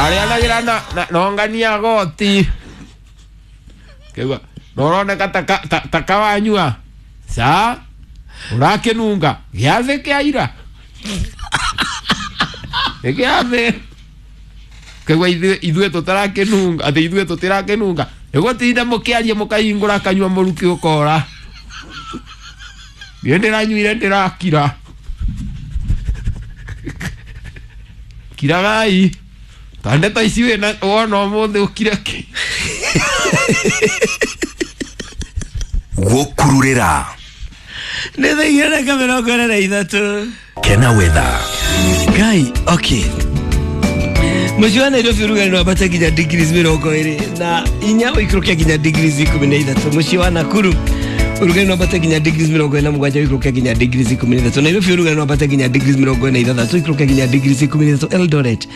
Arianagira na nongania goti. Kegwa noroneka takawanyua. Sa urakinunga giathi kia ira. Giathi. Kegwa ithuĩ tũtarakinunga, atĩ ithuĩ tũtirakinunga. Nĩgũtinda mũkĩaria mũkahingũra kanyua mũrukĩ ũkora. Niĩ ndĩranyuire ndĩrakira. Kiragai. Ta ndeto ici wĩna wona ũmũthĩ ũkire kĩ. Gũkururĩra. Nĩ thaa igĩrĩ na 23. Kena weather. Ngai, okay. Mũciĩ wa Nairobi ũrugarĩ wambata nginya degrees 24 ũikũrũke nginya degrees 13. Mũciĩ wa Nakuru ũrugarĩ wambata nginya degrees 47 ũikũrũke nginya degrees 13. Nairobi ũrugarĩ wambata nginya degrees 46 ũikũrũke nginya degrees 13. Eldoret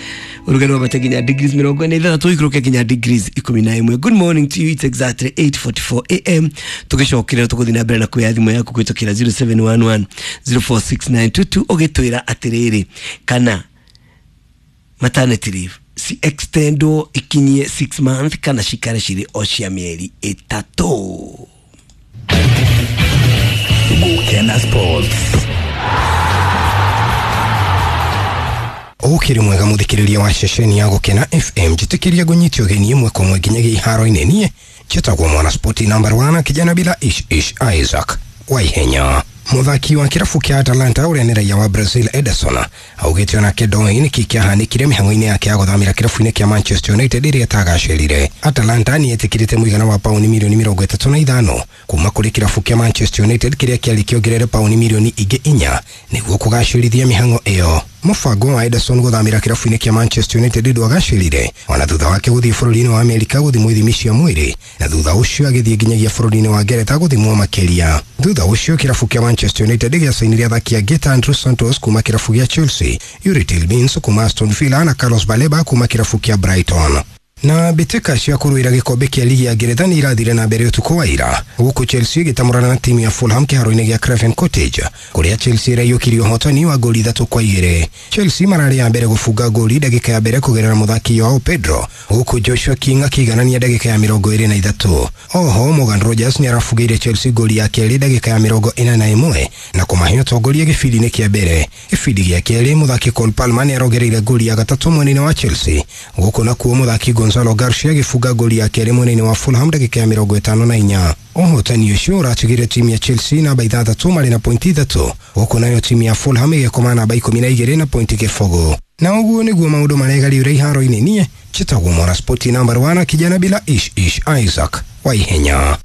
ũrugarĩ wambata nginya degrees 46 ũikũrũke nginya degrees 11. Good morning to you, it's exactly 8:44 am. Tũgĩcokerera tũgũthiĩ na mbere na kuoya thimũ yaku kũhĩtũkĩra 0711 046922 ũgĩtwĩra atĩrĩrĩ kana maternity leave si extendwo ikinyie 6 months kana cikare cirĩ o cia mĩeri 3. Gukena Sports. Ukiri mwega muthikiriria wa ceceni ya Gukena FM njitikiria ngunyitio ũgeni ĩmwe kwa ĩmwe nginyagia iharo-inĩ. Niĩ njĩtagwo mwana spoti number 1 kijana bila ish ish Isaac Waihenya. Muthaki wa kirabu kia Atalanta ũrĩa nĩ raia wa Brazil Ederson augĩte onake ndoĩ nĩkĩ kĩahanĩkire mĩhang'o-inĩ yake ya gũthamĩra kĩrabu-inĩ kĩa Manchester United ĩrĩa ĩtagacĩrire. Atalanta nĩ ĩtĩkĩrĩte mũigana wa pauni milioni 35 kuma kũrĩ kĩrabu kĩa Manchester United kĩrĩa kĩarĩ kĩongerere pauni milioni ingĩ 4 nĩguo kũgacĩrithia mĩhang'o ĩyo. Mũbango wa Ederson gũthamĩra kĩrabu-inĩ kĩa Manchester United ndwagacĩrire ona thutha wake gũthiĩ bũrũri-inĩ wa Amerika gũthimwo ithimi cia mwĩrĩ na thutha ũcio agĩthiĩ nginyagia bũrũri-inĩ wa Ngeretha gũthimwo makĩria. Thutha ũcio kĩrabu kĩa Manchester United gĩacainire athaki angĩ ta Andrew Santos kuma kĩrabu gĩa Chelsea, Yuri Tillmans kuma Aston Villa na Carlos Baleba kuma kĩrabu kĩa Brighton. Na mbĩtĩka cia kũrũĩra gĩkombe kĩa ligi ya Ngeretha nĩ irathire na mbere ũtukũ wa ira gũkũ Chelsea ĩgĩtamũrana na timu ya Fulham kĩharo-inĩ gĩa Craven Cottage kũrĩa Chelsea ĩraiyũkirie ũhotani wa ngoli 3-2. Chelsea mararĩ ya mbere gũbunga ngoli ndagĩka ya mbere kũgerera mũthaki Joao Pedro gũkũ Joshua King akĩiganania ndagĩka ya 23. Oho Morgan Rogers nĩ arabungĩire Chelsea ngoli ya kerĩ ndagĩka ya 41 na kũmahe ũtongoria gĩbindi-inĩ kĩa mbere. Gĩbindi gĩa kerĩ mũthaki Cole Palmer nĩ arongereire ngoli ya gatatũ mwena-inĩ wa Chelsea gũkũ nakuo mũthaki Gonzalo Garcia agĩbunga ngoli ya kerĩ mwena-inĩ wa Fulham ndagĩka ya 54. Ũhotani ũcio ũratigire timu ya Chelsea namba 6 marĩ na pointi 3 gũkũ nayo timu ya Fulham ĩgĩkoma namba 12 na pointi 0. Na ũguo nĩguo maũndũ maregariũra iharo-inĩ. Niĩ njĩtagwo mwana spoti number 1 kijana bila ish ish Isaac Waihenya.